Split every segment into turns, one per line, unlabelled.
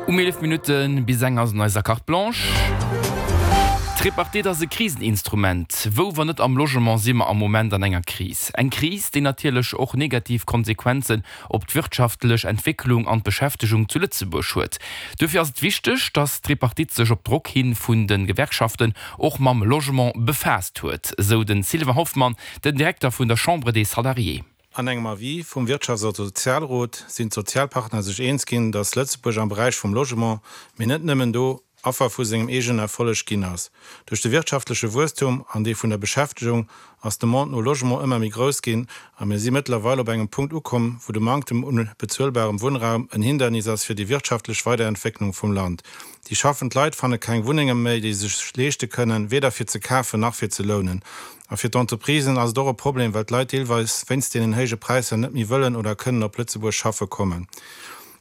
Um 11 Minutte bis eng ass an eiser Carte Blanche. D'Tripartite ass e Kriseninstrument. Wou, wann net am Logement, si mer am Moment an enger Kris? Eng Kris, déi natierlech och negativ Konsequenzen op d'wirtschaftlech Entwécklung an d'Beschäftegung zu Lëtzebuerg huet. Duerfir ass et wichteg, datt d'Tripartite sech op Drock hi vun de Gewerkschaften och mam Logement befaasst huet, esou de Sylvain Hoffmann, den Direkter vun der Chambre des Salariés.
An engem Avis vum Wirtschafts a Sozialrot sinn d'Sozialpartner sech eens ginn, datt Lëtzebuerg am Beräich vum Logement, mee net nëmmen do, Affer vu sengem eegenen Erfolleg ginn ass. Duerch de wirtschaftleche Wuesstum an dee vun der Beschäftegung ass d'Demande no Logement ëmmer méi grouss ginn a mir si mëttlerweil op engem Punkt ukomm, wou de Manktem un bezuelbarem Wunnraum en Hindernis ass fir déi wirtschaftlech Weiderentwécklung vum Land. Déi schaffend Leit fanne keng Wunnenge méi, déi se sech leeschte kënnen, weder fir ze kafen nach fir ze lounen. A fir d'Entreprisen ass et och e Problem, well d'Leit deelweis wéinst deenen héije Präisser net méi wëllen oder kënnen op Lëtzebuerg schaffe kommen.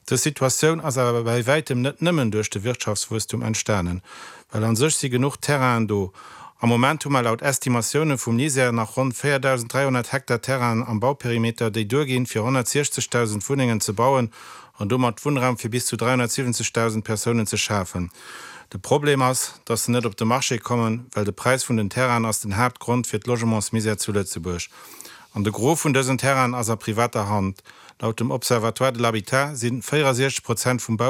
Dës Situatioun ass awer bäi wäitem net nëmmen duerch de Wirtschaftswuesstum entstanen, well an sech si genuch Terrainen do. Am Moment hu mer laut Estimatioune vum LISER nach ronn 4.300 Hektar Terrainen am Bauperimeter, déi duerginn, fir 160.000 Wunnengen ze bauen an domat Wunnraum fir bis zu 370.000 Persounen ze schafen. De Problem ass, dass se net op de Marché kommen, well de Präis vun den Terrainen ass den Haaptgrond fir d'Logementsmisär zu Lëtzebuerg. An de Gros vun dësen Terrainen ass a privater Hand. Laut dem Observatoire de l'habitat si 64 Prozent vum.